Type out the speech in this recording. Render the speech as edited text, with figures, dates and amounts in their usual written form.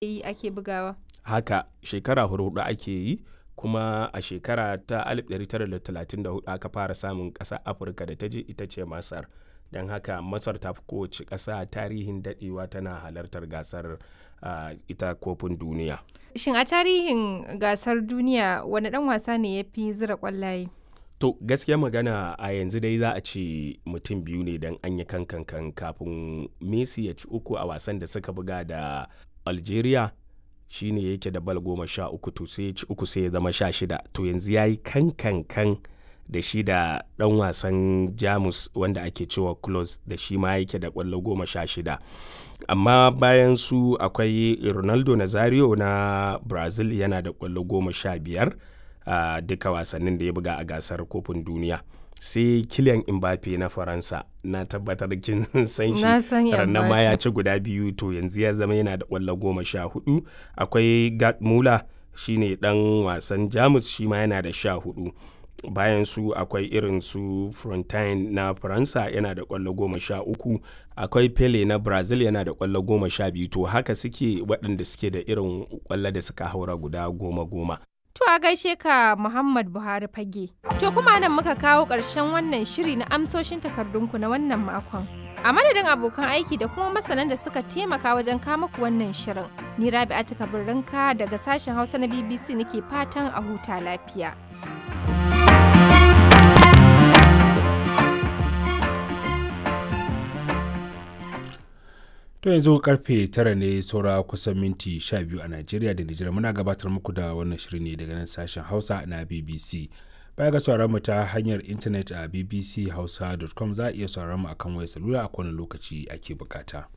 Yi ake bugawa? Haka, shekara hurhuɗu ake yi, kuma a shekara ta 1934 aka fara samun ƙasa Afirka da ta je, ita ce Masar. Don haka Masar ta fi kowace ƙasa tarihin daɗewa tana halartar gasar ita kofin duniya. Shin a tarihin gasar duniya wane ɗan wasa ne ya fi zira ƙwallaye? To gaskiya magana a yanzu dai za a ce mutum biyu ne, don an yi kankan kafin Messi ya ci uku a wasan da suka buga da Algeria, shine yake da bal 13, to sai ya ci uku sai ya zama 16. To yanzu ya yi kankankan da shi da ɗan wasan Jamus wanda ake cewa Klose, da shi ma yake da ƙwallo 16. Amma bayan su akwai Ronaldo Nazario na Brazil, yana da ƙwallo 15 a duka wasannin da ya buga a gasar kofin duniya. Sai Kylian Mbappe na Faransa, na tabbatar kin san shi. Na san. Rannan ma Mbappe. Ya ci guda biyu, to yanzu ya zama yana da ƙwallo 14. Akwai Gerd Muller, shine ɗan wasan Jamus, shi ma yana da 14. Bayan su akwai irin su Frontine na Faransa, yana da ƙwallo 13. Akwai Pele na Brazil, yana da ƙwallo 12. To haka suke waɗanda suke da irin ƙwallo da suka haura guda goma goma. To a gaishe ka, Muhammad Buhari Fage. To kuma nan muka kawo ƙarshen wannan shiri na amsoshin takardunku na wannan makon. A madadin abokan aiki da kuma masanan da suka taimaka wajen kama ku wannan shirin. Ni Rabi'a Kabirrinka daga sashen Hausa na BBC nake fatan a huta lafiya. To yanzu karfe 9 ne saura kusan minti 12 a Najeriya da Nijar. Muna gabatar muku da wannan shiri ne daga nan sashen Hausa na BBC. Baya ga sauraron mu ta hanyar intanet a bbchausa.com, za a iya sauraron mu akan wayar salula a kowane lokaci ake bukata.